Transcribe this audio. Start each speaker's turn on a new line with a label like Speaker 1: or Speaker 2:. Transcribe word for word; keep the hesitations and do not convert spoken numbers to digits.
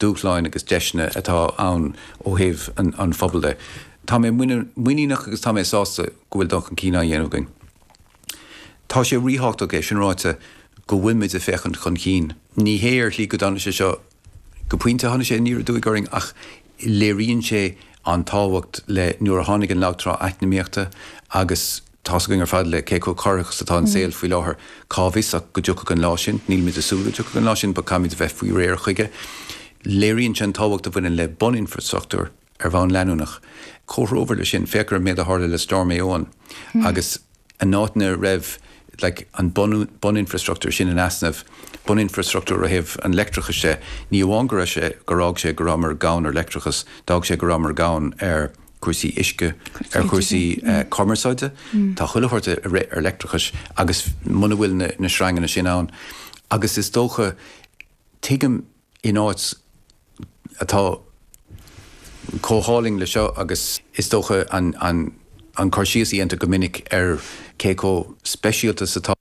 Speaker 1: dúshláin agus deiseanna atá ann ó thaobh an, an phobail de. Tá mé muiníneach agus tá mé sásta go bhfuil dul chun cinn á dhéanamh againn. Tá sé ríthábhachtach é sin ráite go bhfuilmid ag féachaint chun cinn. Ní hé ar shlí go dtáinig sé seo go pointe tháinig sé aniar aduaidh orainn ach léiríonn sé an tábhacht le nuair a tháinig an lagtrá eacnamaíochta agus tá's againn ar fad le cé chomh corraitheach is atá an saol faoi láthair cá bhfios ach go dtiocfadh an lá sin, nílimid ag súil go dtiocfadh an lá sin, but caithfimid a bheith faoi réir chuige. Léiríonn sé an tábhacht a bhaineann le buninfrastruchtúr ar bhonn leanúnach. Comhthreomhar leis sin féach ar an méid a tharla le Storm Éowyn agus an áit ina raibh like, an buninfrastruchtúr sin in easnamh, buninfrastruchtúr ó thaobh an leictreachais de, ní amháin go raibh sé gur fhág sé go rabhamar gann ar leictreachas, d'fhág sé go rabhamar gann ar chúrsaí uisce, ar chúrsaí uh, cumarsáide, Tá chuile shórt ar leictreachas agus muna bhfuil na, na sreanganna sin ann. Agus is dócha tuigim in áit atá chomh hálainn le seo agus is dócha an, an, an cur síos a dhéantar go minic ar cé chomh speisialta atá